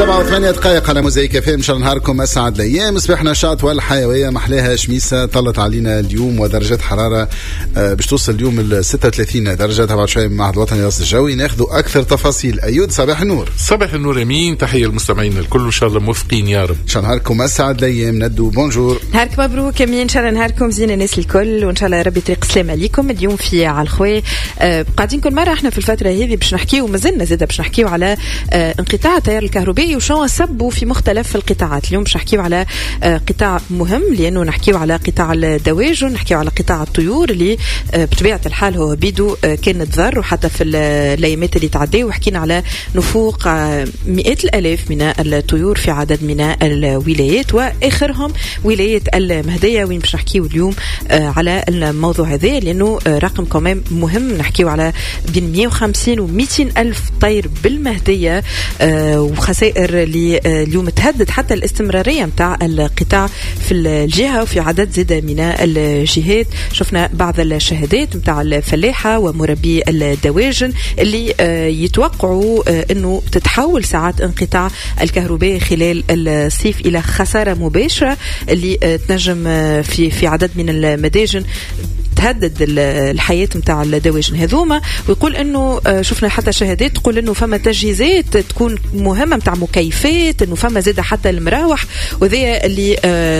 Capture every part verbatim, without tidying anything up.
سبعة وثمانية دقائق على موزايك اف ام. ان شاء الله نهاركم اسعد الايام. صباح نشاط والحيوية محلاها شميسه طلت علينا اليوم، ودرجات حرارة باش توصل اليوم ل ستة وثلاثين درجه. تبع شوية من المعهد الوطني للرصد الجوي ناخذوا اكثر تفاصيل. ايود صباح النور. صباح النور امين، تحية للمستمعين الكل وان شاء الله موفقين يا رب. ان شاء الله نهاركم اسعد الايام. ندو bonjour. نهارك مبروك امين، ان شاء الله نهاركم زين الناس الكل، وان شاء الله ربي طريق سلام عليكم. اليوم في على الخوي آه قاعدين كل مرة احنا في الفترة هذه باش نحكيو، مازلنا زاده باش نحكيو على آه انقطاع التيار الكهربائي وشنو سبوا في مختلف القطاعات. اليوم باش نحكيو على قطاع مهم، لانه نحكيو على قطاع الدواجن، نحكيو على قطاع الطيور اللي بطبيعة الحال هو بيدو كان تضر، وحتى في الايامات اللي تعداو وحكينا على نفوق مئات الالاف من الطيور في عدد من الولايات، واخرهم ولاية المهدية، وين باش نحكيو اليوم على الموضوع هذا لانه رقم كمان مهم. نحكيو على بين مئة وخمسين و مئتين الف طير بالمهديه، وخسائر اللي اليوم تهدد حتى الاستمرارية متاع القطاع في الجهة وفي عدد زاد من الجهات. شفنا بعض الشهادات متاع الفلاحة ومربي الدواجن اللي يتوقعوا انه تتحول ساعات انقطاع الكهرباء خلال الصيف الى خسارة مباشرة اللي تنجم في في عدد من المداجن تهدد الحياة متاع الدواجن هذوما. ويقول انه شفنا حتى شهادات تقول انه فما تجهيزات تكون مهمة متاع مكيفات، انه فما زاد حتى المراوح، وذي اللي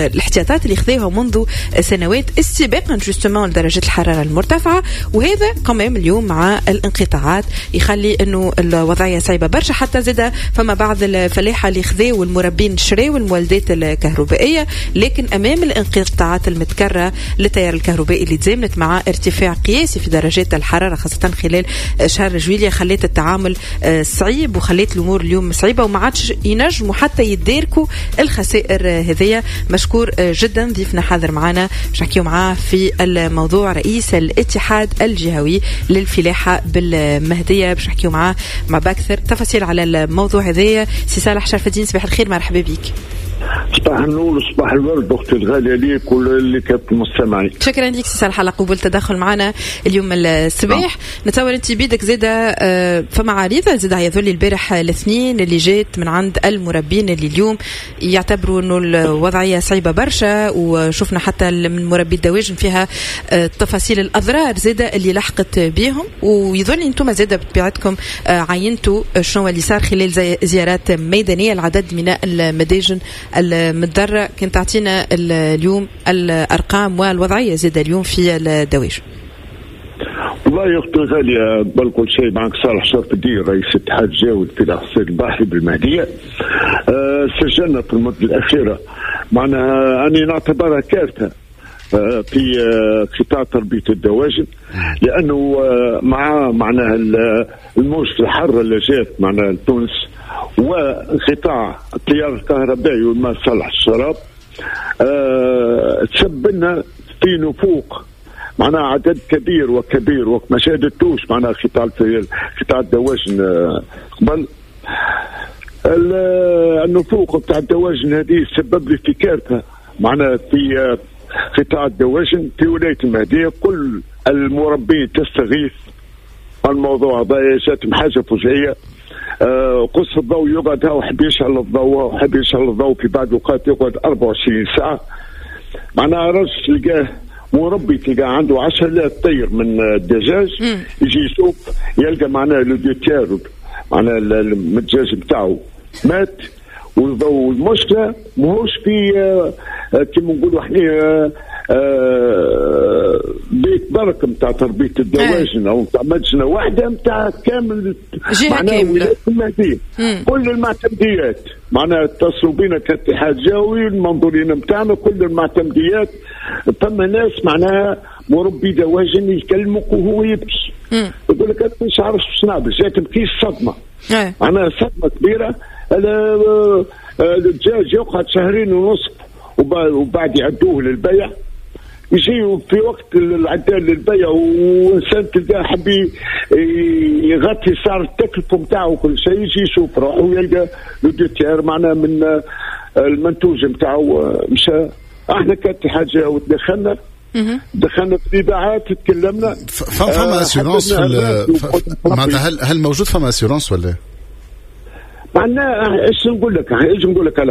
الاحتياطات اللي خذوها منذ سنوات استباقا justement لدرجة الحرارة المرتفعة. وهذا كمان اليوم مع الانقطاعات يخلي انه الوضعية صعيبة برشا. حتى زاد فما بعض الفلاحة اللي خذاو والمربين شراو المولدات الكهربائية، لكن امام الانقطاعات المتكررة للتيار الكهربائي اللي تزامنت مع ارتفاع قياسي في درجات الحرارة خاصة خلال شهر جويلية خلت التعامل صعيب وخلت الأمور اليوم صعيبة، وما عادش ينجموا حتى يداركوا الخسائر هذية. مشكور جدا ضيفنا حاضر معنا باش نحكيو معاه في الموضوع، رئيس الاتحاد الجهوي للفلاحة بالمهدية، باش نحكيو معاه مع بأكثر تفاصيل على الموضوع هذايا. سي صالح شرف الدين صباح الخير، مرحبا بك. صباح النور صباح الورد اختي الغالية ليك واللي كانت المستمعين. شكرا لك سي صالح على قبول التدخل معنا اليوم الصباح. نتصور انت بيدك زاده فما عريضة زاده يظل البارح الاثنين اللي جات من عند المربين اللي اليوم يعتبروا انه الوضعية صعيبة برشا، وشفنا حتى من مربي الدواجن فيها تفاصيل الاضرار زاده اللي لحقت بهم، ويظل انتم زاده بطبيعتكم عينتوا شنو اللي صار خلال زيارات ميدانية العدد من المداجن المتضررة. كنت تعطينا اليوم الأرقام والوضعية زادة اليوم في الدواجن. والله يا أختي غالية قبل كل شيء معك صالح شرف الدين رئيس اتحاد الجهوي للفلاحة الصيد البحري بالمهدية. أه سجلنا في المدة الأخيرة معناها أني نعتبرها كارثة في قطاع تربية الدواجن، لأنه مع معناها الموجة الحارة اللي جات معناها لتونس وانقطاع التيار الكهربائي والماء صالح الشراب أه تسببنا في نفوق معناها عدد كبير وكبير وما شهدتوش معناها قطاع قطاع الدواجن قبل. النفوق بتاع الدواجن هذه سبب لي في كارثة معناها في قطاع الدواجن في ولاية المهدية. كل المربين تستغيث الموضوع هذا، جاتهم حاجة فجائيه. آه قص الضوء يقعد وحب يشعل الضوء وحب يشعل الضوء في بعض الأوقات يقعد أربعة وعشرين ساعة. معناها رجل تلقاه مربي تلقاه عنده عشرة آلاف طير من الدجاج، يجي يشوف يلقى معناها le deux tiers معناها الدجاج بتاعه مات. والمشكلة ماهوش في آه كيما نقولوا احنا آه بيت برك نتاع تربيه الدواجن او نتاع مدجنه واحدة نتاع كامل معناها ولاية المهدية. كل المعتمديات معناها اتصلوا بنا كاتحاد جهوي المنظورين نتاعنا كل المعتمديات. ثم ناس معناها مربي دواجن يكلمك وهو يبكي يقول لك انا مش عارف باش نعمل، جاتني كي الصدمة معناها صدمة كبيرة. الدجاج يقعد شهرين ونصف وبعد يعدوه للبيع، يجي في وقت العدال للبيع وانسان تلقاه حب يغطي سعر التكلفة نتاعو كل شيء، يجي يشوف روحه ويلقى le deux tiers معناها من المنتوج نتاعو مشى. احنا كاتحاد جهوي تدخلنا دخلنا في الاذاعات تكلمنا. فما assurance في معناتها هل هل موجود فما assurance ولا؟ معناها ايش نقول لك، ايش نقول لك على